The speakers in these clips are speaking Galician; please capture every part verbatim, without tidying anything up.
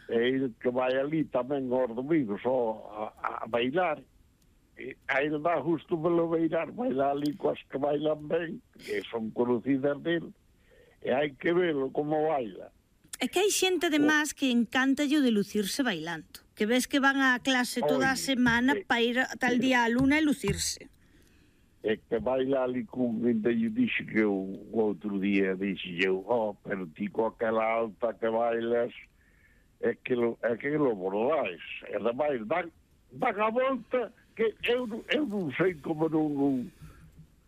e el que vai ali tamén aos domingos a, a, a bailar, e a ele dá justo velo bailar, bailar ali coas que bailan ben, que son conocidas dele, e hai que velo como baila. É que hai xente, además, que encanta o de lucirse bailando, que ves que van á clase toda a semana para ir tal día á luna e lucirse. É que baila ali con ainda eu dixo que eu o outro día dixo eu, oh, pero ti co aquela alta que bailas é que lo, é que lo bordais, e ademais dan, dan a volta que eu, eu non sei como non, non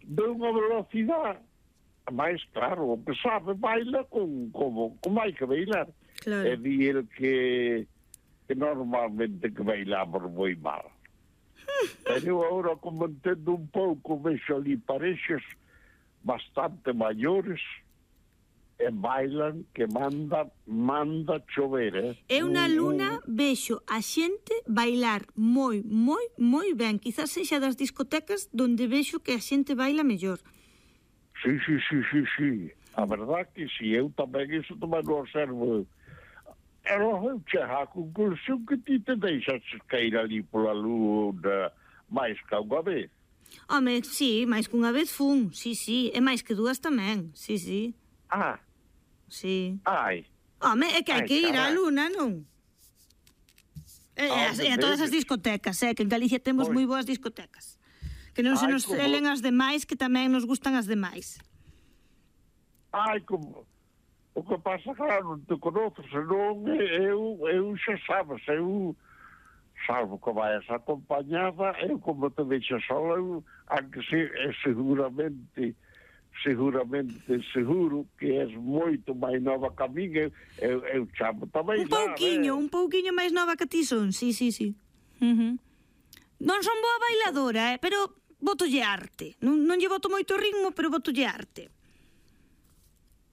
de unha velocidade, mas claro, o que sabe baila con, como, como hai que bailar. Claro. É di el que, que normalmente que bailamos moi mal. Pero agora, como entendo un pouco, vexo ali parexas bastante maiores e bailan que manda manda chover, eh? Eu na luna vexo a xente bailar moi, moi, moi ben. Quizás sexa das discotecas donde vexo que a xente baila mellor. Sí, sí, sí, sí, sí. A verdad que si, eu tamén iso tamén non observo. Pero eu chego á conclusión que ti te deixas cair ali pola luna máis que unha vez. Home, sí, máis que unha vez fun, sí, sí, e máis que dúas tamén, sí, sí. Ah, sí. Ai. Home, é que hai Ai, que ir á carai. luna, non? E, Ah, e a todas as discotecas, eh, que en Galicia temos Pois. moi boas discotecas. Que non se Ai, nos como- celen as demais, que tamén nos gustan as demais. Ai, como... O que pasa, claro, non te conoces, senón eu, eu xa sabes, eu, salvo que vayas acompañada, eu como te deixas sola, eu, aunque se, é seguramente, seguramente seguro que és moito máis nova que a min, eu, eu, eu chamo tamén Un pouquiño, eh? un pouquiño máis nova que ti son, sí, sí, sí. Uh -huh. Non son boa bailadora, eh, pero botolle arte. Non, non lle boto moito ritmo, pero botolle arte.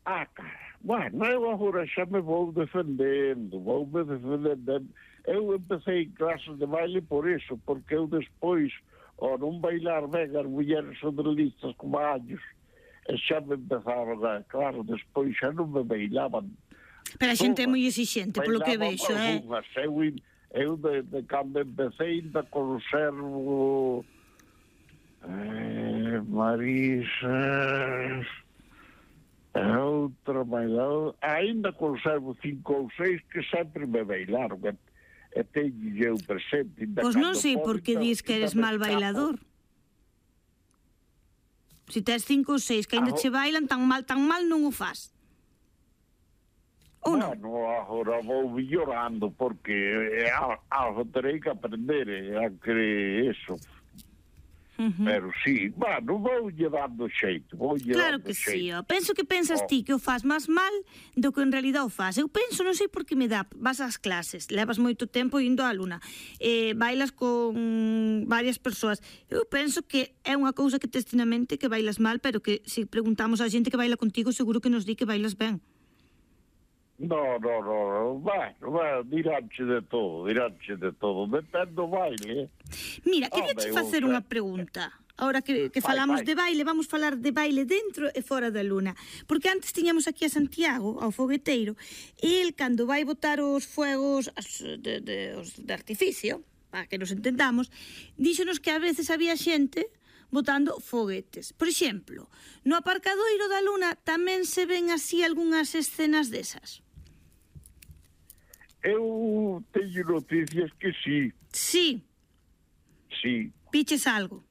Ah, cara, bueno, eu agora xa me vou defendendo, vou me defendendo. Eu empecé en clases de baile por eso, porque eu despois, ao non bailar ben as mulleres sodrelistas como años, e xa me empezaron a, claro, despois xa non me bailaban. Pero a xente é moi exixente, polo que vexo, eh? Algunhas, eu, eu de, de cando empecé ainda conservo eh, Marisa... A outra bailadora, ainda conservo cinco ou seis que sempre me bailaron, e, e teño eu presente. Pois non sei por que dis que eres mal bailador. Se tes cinco ou seis que ainda che bailan, tan mal, tan mal non o faz. Ou non? Bueno, agora vou mellorando, porque eh, algo terei que aprender, eh, a que eso... Uh -huh. Pero sí, bueno, vou lle dando xeito, vou lle claro dando que xeito. sí, ó. Penso que pensas oh. ti que o faz máis mal do que en realidad o faz. Eu penso, non sei por que me dá, vas ás clases, levas moito tempo indo á luna, eh, bailas con varias persoas. Eu penso que é unha cousa que tes na mente que bailas mal, pero que se preguntamos a xente que baila contigo, seguro que nos di que bailas ben. No, no, no, bueno, bueno, diranche de todo, diranche de todo, depende do baile. Mira, quería che facer unha pregunta. Ahora que, que falamos vai, vai. de baile, vamos falar de baile dentro e fora da luna. Porque antes tiñamos aquí a Santiago, ao fogueteiro, e el, cando vai botar os fuegos as, de, de, os de artificio, para que nos entendamos, díxonos que a veces había xente botando foguetes. Por exemplo, no aparcadoiro da luna tamén se ven así algunhas escenas desas. Eu teño noticias que sí. Sí. Sí. Piches algo?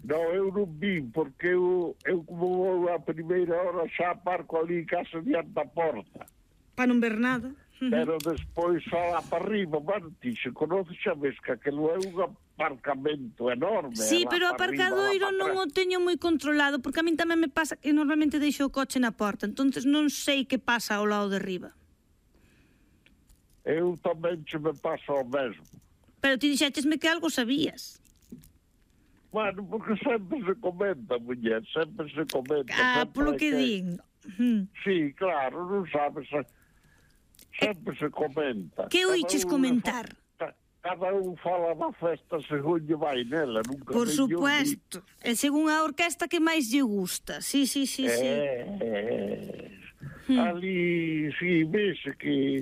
Non, eu non vim, porque eu, eu como vou a primeira hora xa aparco ali en casa diante da porta. Para non ver nada. Pero despois só lá para arriba, bueno, ti se conoces xa ves que aquilo é un aparcamento enorme. Sí, pero o aparcadoiro non o teño moi controlado, porque a min tamén me pasa que normalmente deixo o coche na porta, entonces non sei que pasa ao lado de arriba. Eu tamén che me pasa o mesmo. Pero ti dixéchesme que algo sabías. Bueno, porque sempre se comenta, muller, sempre se comenta. Ah, polo que din. Sí, claro, non sabes, sempre se comenta. Que oiches comentar? Cada un fala da festa según lle vai nela, nunca. Por supuesto, e según a orquesta que máis lle gusta, sí, sí, sí, sí. Eh, ali, sí, vese que